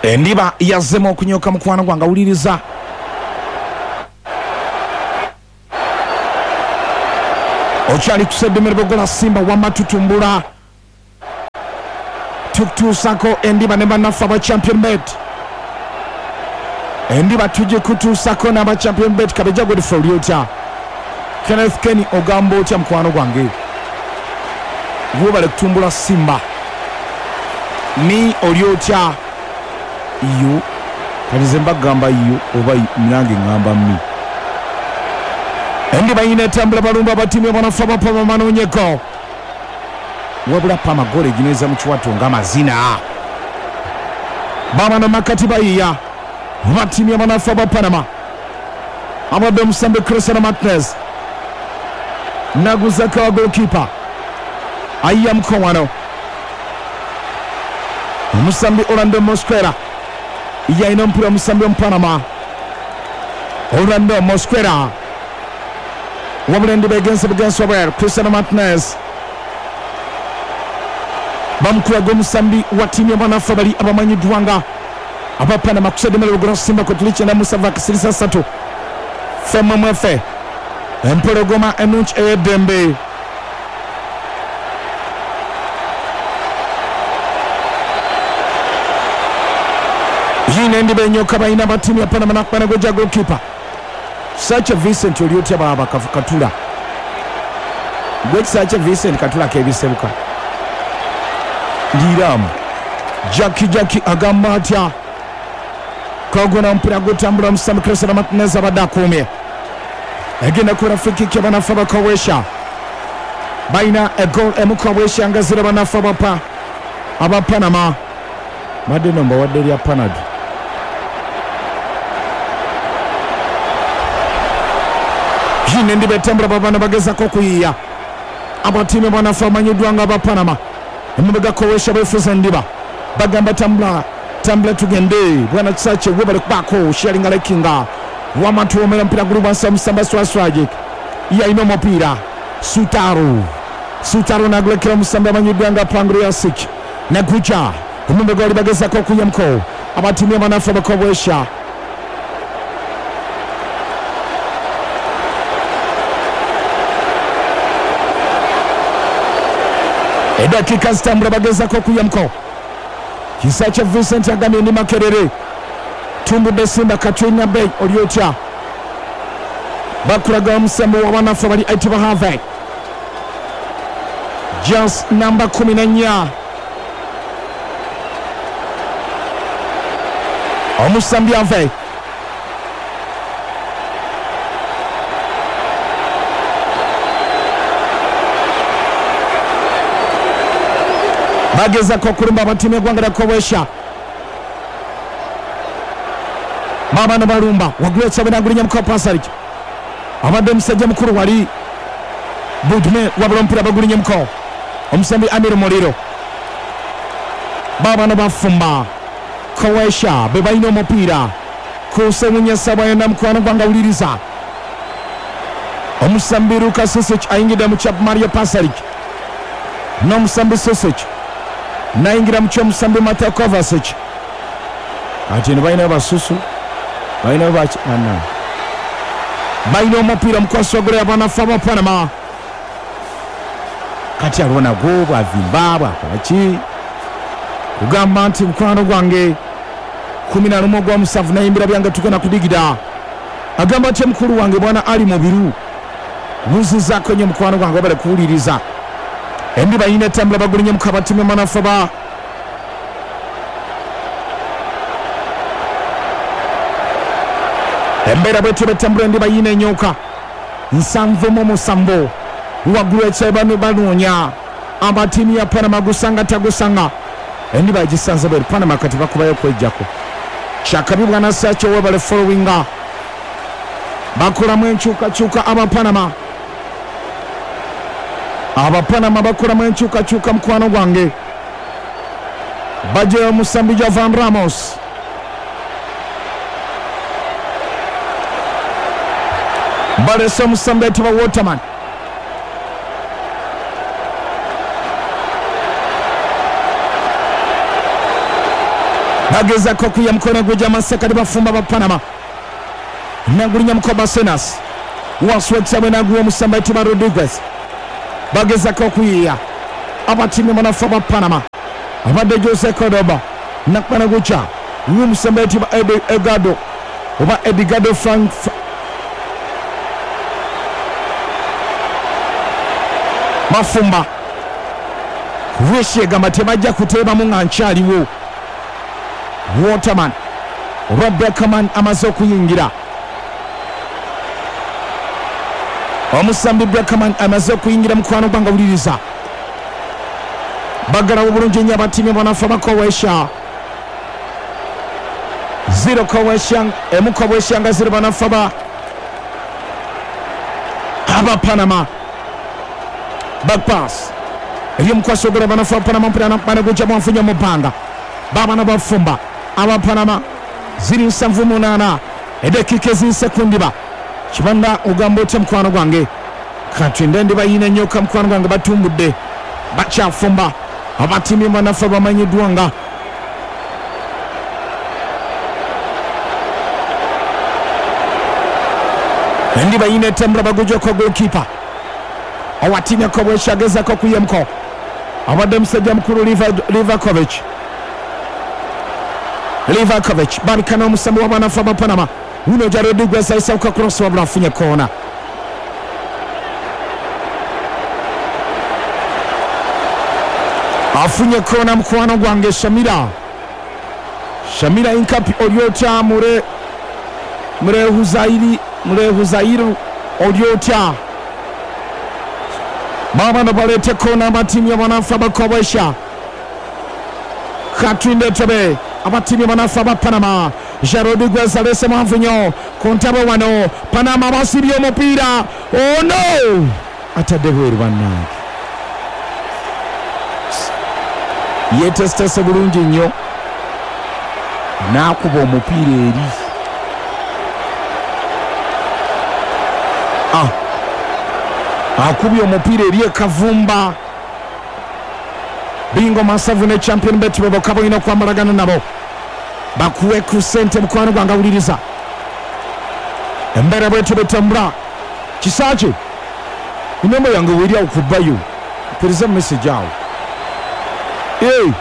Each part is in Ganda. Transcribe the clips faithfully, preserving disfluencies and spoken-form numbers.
Endiba yazzemu okunyoka mukwano gwange, awuliriza. Okyali kuseddemere bogola Simba wamma tutumbula tukutuusako endiba ne bannaffe aba Champion Bet. Endiba tugikutuusako n'aba Champion Bet. Kabejja Godfrey oli otya? Kenneth Kenny ogamba otya mukwano gwange? Webale kutumbula Simba. Mi oli otya? Iyo kati nze mbagamba iyo oba nange ŋŋamba mi. Endiba yina etambula balumba abatiimu abanafu abapama manoonyeko, wabula pama goolo eginyweza mu kiwato ng'amazina. Babano makati bayiya abatiimu abanafu aba Panama. Abadde omusambi Cristiano Martinez naguzako wa goalkeeper ayiya mukowano omusambi Orlando Mosquera yalina omupiira omusambi omupanama Orlando Mosquera, wabula endiba egenze bugenzi wabweru. Cristiano Martinez bamukulaga omusambi wa ttiimu y'abanafu abali abamanyiddwa nga aba Panama kuseddemere lugula Simba kwe tuli kyenda musanvu akasirisa ssatu femmwemwefe empologoma ennungi ey'eddembe. Yina endiba enyoka balina aba ttiimu ya Panama nakubana gojja goalkeeper Sacha Vincent oli otya baba Katula? Gwe Sacha Vincent Katula kebisebuka ndiramu. Jackie Jackie agamba atya? Kagona mpira gutambula omusambi Cristiano Martinez abadde akuumye, egenda kubeera free kick y'abanafu abakowesha. Balina egoal emu Kowesha nga zira banafu abapa aba Panama. Badde no mbawadde erya Panado. Yina endiba etambula babana bagezako okuyiiya abatiimu abanafu abamanyiddwa nga aba Panama. Emabega Kowesha beefuza endiba bagamba tambula tambula tugende bwana Kisaakye webale kubaako sharinga lekinga wamatuwomera mpira guli wansi omusamba Swaswajik yalina omupiira Sutaro Sutaro nagulekera omusambi amanyiddwa nga Pangriasic naguja emabega wali bagezako okuyamko abatiimu abanafu abakowesha. Eddakiika zitambula bagezako okuyamko. Kisaakye Vincent agambye ndi Makerere tumbudde Simba Katrina Bay oli otya? Bakulaga omusambi w'abanafu abali ayitibwa Harvey Jas namba kumi na nnya omusambi Harvey bagezako okulumba abatiimu y'eggwanga lya Kowesha. Babano balumba waggulu ekyabe nagulinya muka Pasaric abadde omusajja mukulu wali Budme wabula omupiira bagulinye muko omusambi Amir Muliro. Babano bafumba Kowesha be balina omupiira kusewunya Sabayona mukwano gwange awuliriza. Omusambi Luka Sosic ayingidde mu kya Mario Pasaric n'omusambi Sosic nayingira mu ky'omusambi Mateo Kovacic. Ati eno balinayo basusu balinayo baki bana balina omupiira omukwasi wa ggoolo y'abanafu aba Panama. Kati aliwo nagwo bwavimba bwakola ki kugamba nti mukwano gwange kumi na lumu ogwa musanvu nayimbira byange tugenda kudigida. Agamba nti mukulu wange bwana Ali Mubiru buzizaako nnyo mukwano gwange wabale kuwuliriza. Endiba yina etambula bagulinye mukaba ttiimu y'abanafu aba embeera bwetyo betambula endiba yina enyoka nsanvu mu musanvu waggulu ekyayi bano banoonya abatiimu ya Panama gusanga tagusanga. Endiba egisanze bweru Panama kati bakubayo okwejjako kyakabi bwana Sacho webale followinga bakolamu enkyukakyuka aba Panama. Aba Panama bakolamu enkyukakyuka mukwano gwange bajeyo omusambi Jovan Ramos balese omusambi ayitibwa Waterman. Bagezako kuya mukono gwe gy'amasekati bafumba ba Panama. Nagulinya mukoba Senas. Waswetsa naguwa omusamba ayitibwa Rodriguez. Bagezako kuyiya abatimu banafa ba Panama. Abadde Jose Cordoba nakwana gucha omusamba ayitibwa Edgardo oba Edgardo Frank Mafumba. Weshe gamba tebajja kuteebamu nga nkyaliwo. Waterman oba Beckerman amaze okuyingira. Omusambi Beckerman amaze okuyingira mukwano gwange wuliriza. Bagalawo bulungi nnyo abatimu banafa bakowesha. Zero kowesha emu kowesha nga zero banafa ba aba Panama. Back pass. Eri mukwaso gora banafa Panama mpira na gujja mwafunya mubanga. Baba na bafumba aba Panama ziri nsanvu munaana eddakiika ezinsekundiba. Kibanda ogamba otya mukwano gwange? Katwinde ndiba yina ennyoka mukwano gwange batumbudde bakyafumba abatimu banafa bamanyiddwa nga endiba yina etambula bagujjako goalkeeper owatimu yakobwesha agezako kuyemko abadde musajja mukulu Livakovic. Livakovic babikana omusambi w'abanafa ba Panama. Uno ja Rodriguez ayisauka cross wabula afunye koona. Afunye koona mukwano gwange Shamira. Shamira Inkapi olyotya mure Murehuzairi Murehuzairu olyotya. Baba na balete kona abatimu y'abanafa bakobwesha. Katwinde tobe abatimu y'abanafa ba Panama. Rodriguez alese mwanvunyo kontabo wano Panama basibye omupiira. Oh no! Atadde bweru bannange. Yeetesitese bulungi nnyo n'akuba omupiira eri. Ah. Akubye omupiira eri ekavumba. Bingo Masavu ne Champion Bet bwe balina okwambalagana nabo. Bakuwe ku ssente mukwano gwange awuliriza. Embeera bwetyo bwetambula. Kisaki enamba yange weeri awo ku bayo. Mpereza message awo. Hey!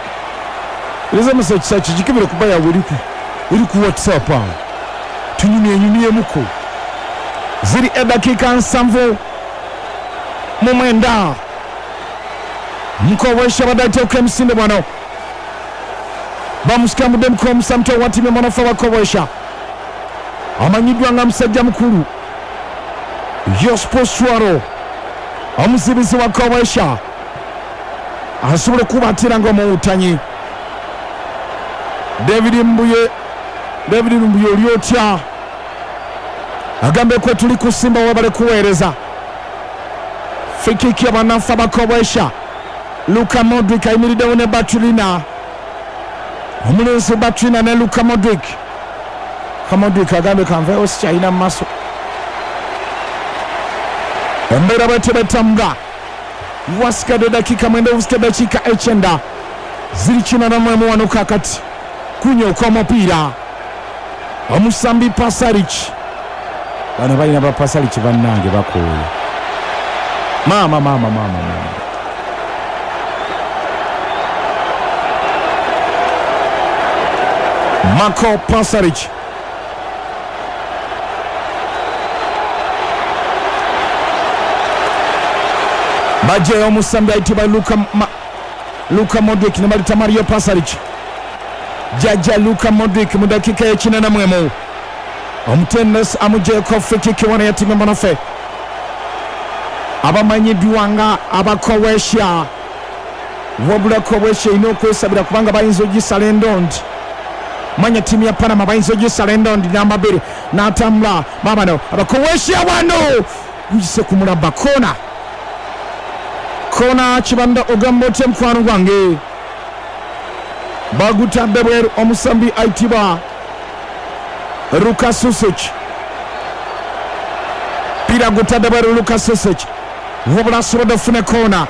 Mpereza message Kisaki gikebere ku bayo awo eri ku eri ku WhatsApp awo. Tunyumyenyumyemuko. Ziri eddakiika nsanvu mu mwenda. Mukowesha badde emisinde bwano. Bamusikamudde mukomusamto wa ttiimu mwanafa bakowesha. Amanyiddwa nga musajja mukulu Jospo Suaro omuzibizi wa Kowesha asobola okubatira ng'omuwutanyi. David Mbuye David Mbuye oli otya? Agambe kwe tuli kusimba wabale kuweereza. Free-kick y'abanafa bakowesha. Luka Modric ayimiriddewo ne Batulina. Omulenzi Batulina ne Luka Modric. Modric agambe kanveewo sikyalina mu maaso. Embeera bwetyo betambula. Wasigadde dakika mwenda obusika dakiika ekyenda ziri kinaana mu emu wano kaakati. Kunyooka omupiira omusambi Pasaric. Bano balina ba Pasaric bannange bakooye. Maama maama maama maama. Marko Pasaric. Bajeyo omusambi ayitibwa Luka, Ma, Luka Modric ne balita Mario Pasaric. Jajja Luka Modric mu dakiika y'ekinana mu emu. Omutendesi amugyeko free kick wano ya ttiimu banafe abamanyiddwa nga abakowesha. Wabula Kowesha erina okwesabira kubanga bayinza ogisala endondi. Manya ttiimu ya Panama bayinza ogisala endondi namba bbiri n'atambula babano abakowesha wano guyise ku mulabba koona. Kona Kibanda ogamba otya mukwano gwange? Bagutadde bweru omusambi ayitibwa Luka Susic. Pira gutadde bweru Luka Susic. Wabula asobodde okufuna koona.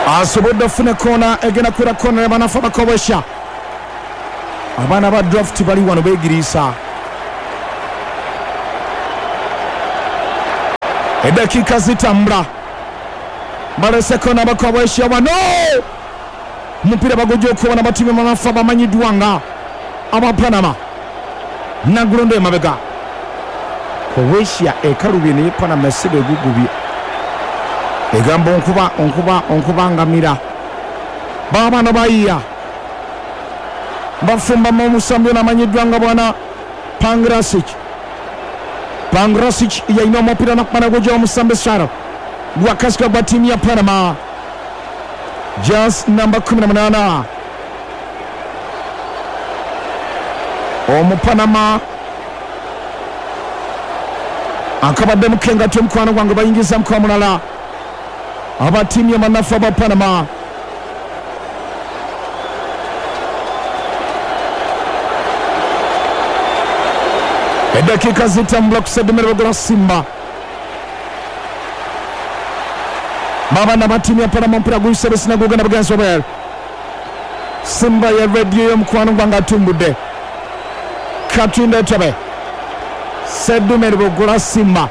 Asobodde ofuna koona egenda kubeera koona y'abanafu abakobesha. Abaana ba draft bali wano beegiriisa. Eddakiika zitambula. Balese koona abakobesha wano. Omupiira bagujja okubona batimu banafu abamanyiddwa nga aba Panama. Nagulondo emabega. Croatia ekalubye naye Panama esiga egugubye. Egamba onkuba onkuba onkuba ngamira. Baabano bayiya. Bafumbamu omusambi ono amanyiddwa nga bwana Pangrasic. Pangrasic yalina omupiira nakumana gujja omusambi Saro. Gwakasika gwa ttiimu ya Panama. Just namba kumi na munaana. Omupanama akabadde mukengati omukwano gwange bayingiza muka mulala. Aba ttiimu y'abanafu aba Panama. Eddakiika zitambula ku Sedumere Bogola Simba. Baabana ba ttiimu ya Panama omupiira guyise Besina gugenda bugenzi obweru. Simba ya rediyo y'omukwano gwange atumbudde. Katunde Tobe. Sedumere Bogola Simba.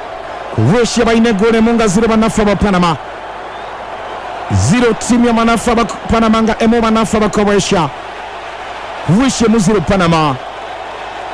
Croatia balina eggoolo emu nga ziro bannaffe aba Panama. Ziro ttiimu y'abanafu aba Panama nga emu bannaffe aba Croatia. Croatia emu ziro Panama.